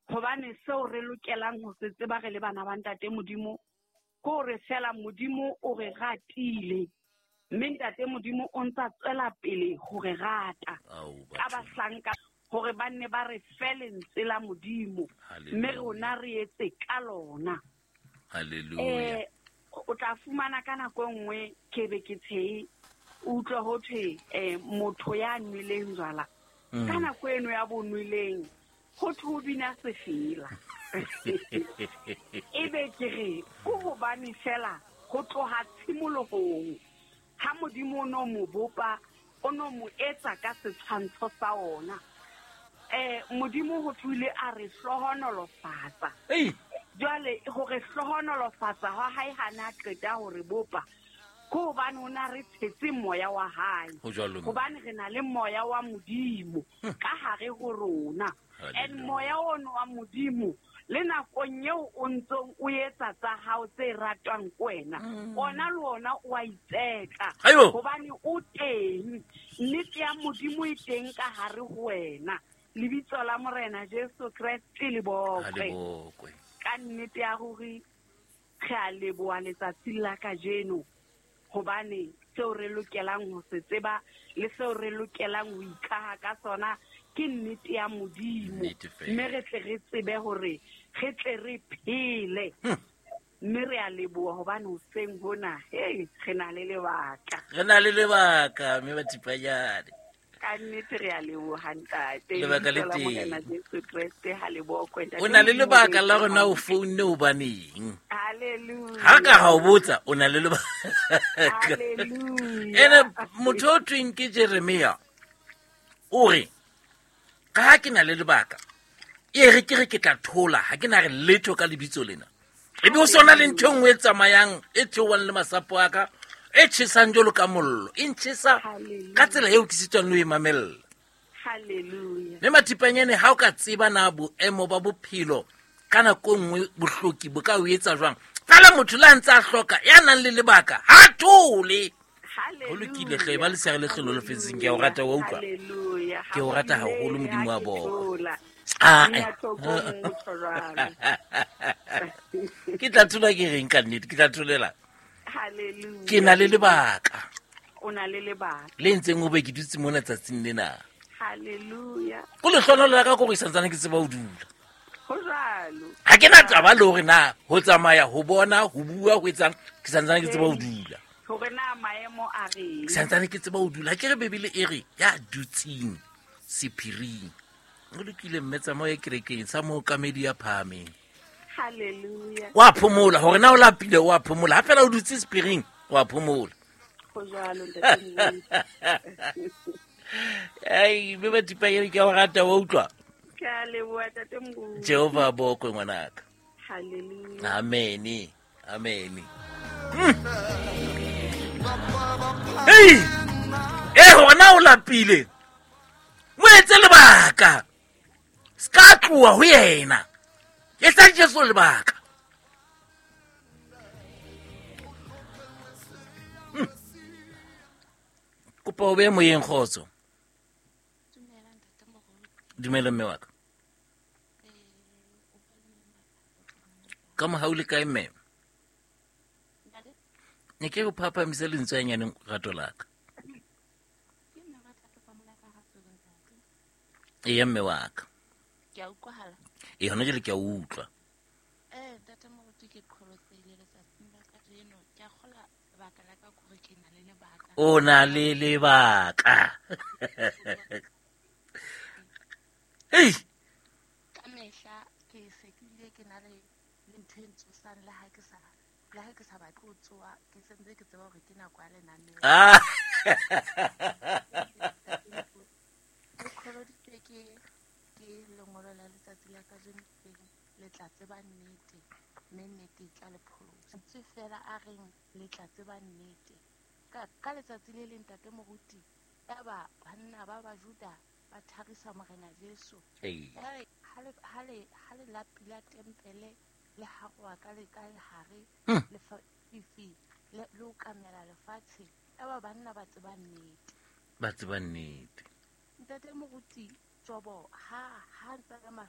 Hobane seo re lokelang ho se tseba re le bana ba Ntate Modimo ke hore feela Modimo o re ratile, mme Ntate Modimo o ntsa tswela pele ho re rata ka bahlanka hore ba nne ba re fe lentswe la Modimo, mme rona re etse ka lona. Hallelujah. O tla fumana ka nako e nngwe ke be ke tshehe, o utlwe ho thwe motho ya nweleng jwala ka nako eno ya bonweleng ho thwe o bina sefela. Ebe ke re ke hobane fela ho tloha tshimolohong ha Modimo o no mo bopa, o no mo etsa ka setshwantsho sa ona. Modimo ho thwe o ile a re hlohonolofatsa. Jwale ho re hlohonolofatsa hwa hae ha na qeta ho re bopa, ke hobane o na re tshetse moya wa hae. Ho jwalo, mme. Hobane re na le moya wa Modimo ka hare ho rona. And moya ono wa Modimo le nakong eo o ntsong o etsa tsa hao tse ratwang ke wena, ona le ona o a itseka. Aibo. Hobane o teng, nnete ya Modimo e teng ka hare ho wena. Lebitso la Morena Jesu Kreste le bokwe. Ha le bokwe. Ka nnete ya ruri re a leboha letsatsing la kajeno, hobane seo re lokelang ho se tseba le seo re lokelang ho ikaha ka sona ke nnete ya Modimo. Nnete fela. Mme re tle re tsebe hore re tle re phele. Mme re a leboha hobane hoseng hona, hey, re na le lebaka. Re na le lebaka, mme Mathipanyane. Ka nnete re a leboha, ntate. Lebaka le Lebitso la teng. Morena Jesu Kreste ha le bokwe, ntate. O na le lebaka la rona o founne hobaneng? Hallelujah. Ha ka ha o botsa, o na le lebaka. Hallelujah. Ene motho o thweng ke Jeremia o re, ka ha ke na le lebaka, e re ke re ke tla thola, ha ke na re letho ka lebitso lena. Ebe o sona le ntho e nngwe e tsamayang, e theohang le masapo a ka, e tjhesang jwalo ka mollo, e ntjhesa Hallelujah. ka tsela eo ke sitwang le ho e mamella. Hallelujah. Mme Mathipanyane, ha o ka tseba na boemo ba bophelo ka nako e nngwe bohloki bo ka o etsa jwang, fela motho le a ntse a hloka ya nang le lebaka ha thole. Hallelujah. Ho lokile hle, ba lesere le hlolo le fetseng, ke a o rata, wa utlwa? Hallelujah. Ke o rata haholo, Modimo wa Ha ke bokwe. thola. Ah, Nna eh. tlhokong motho jwalo. Ke tla thola ke reng ka nnete, ke tla tholela. Hallelujah. Ke na le lebaka. O na le lebaka. Le ntseng o be ke dutse mona tsatsing lena. Hallelujah. Ko lehlohonolo la ka ke hore ke santsane ke tseba ho dula. Ho jwalo. Ha ke na taba le hore na ho tsamaya, ho bona, ho bua, ho etsang, ke santsane ke tseba ho dula. Hore na maemo a reng. Ke santsane ke tseba ho dula. Ha ke re Bibele e re ya dutseng sephiring. O lokile mme, tsamaya kerekeng sa mookamedi ya phahameng. Hallelujah. Wa phomola, hore na o lapile, wa phomola. Ha fela o dutse sephiring, wa phomola. Ho jwalo, ntate Modimo. Ai, mme Mathipanyane, ke a o rata, wa utlwa? Ke a leboha, ntate Modimo. Jehova a bokwe, ngwanaka. Hallelujah. Amen. Amen. Hey! Hore na o lapile, mo etse lebaka. Se ka tloha ho yena. Etsa Jesu lebaka. Kopa o be moyeng, kgotso. Dumela mme wa ka. Ka mohau le kae mme? Ne ke re o phaphamise lentswe hanyane, rato la ka. Eya mme wa ka. Ke a utlwahala. Ee, hona jwale ke a utlwa. Ntate Moruti, ke qholotsehile letsatsing la kajeno. Ke a kgolwa lebaka la ka ke hore ke na le lebaka. O na le lebaka. Hei! Ka mehla ke se ke bile ke na le ntho e ntsosang le ha ke sa, le ha ke sa batle ho tsoha, ke sentse ke tseba hore ke nako ya lenaneo. Ke qholoditswe ke lengolo la letsatsi la kajeno teng, le tla tseba nnete, mme nnete e tla le pholosa. Ntswe fela a reng le tla tseba nnete. Ka letsatsi le leng, ntate Moruti, yaba banna ba Bajuda ba tharisa Morena Jesu. Ya re, ha le la pila tempele le haroha ka le ka lehare, lefifi le okamela lefatshe, yaba banna ba tseba nnete. Ba tseba nnete. Ntate Moruti, Jobo ha ntsa le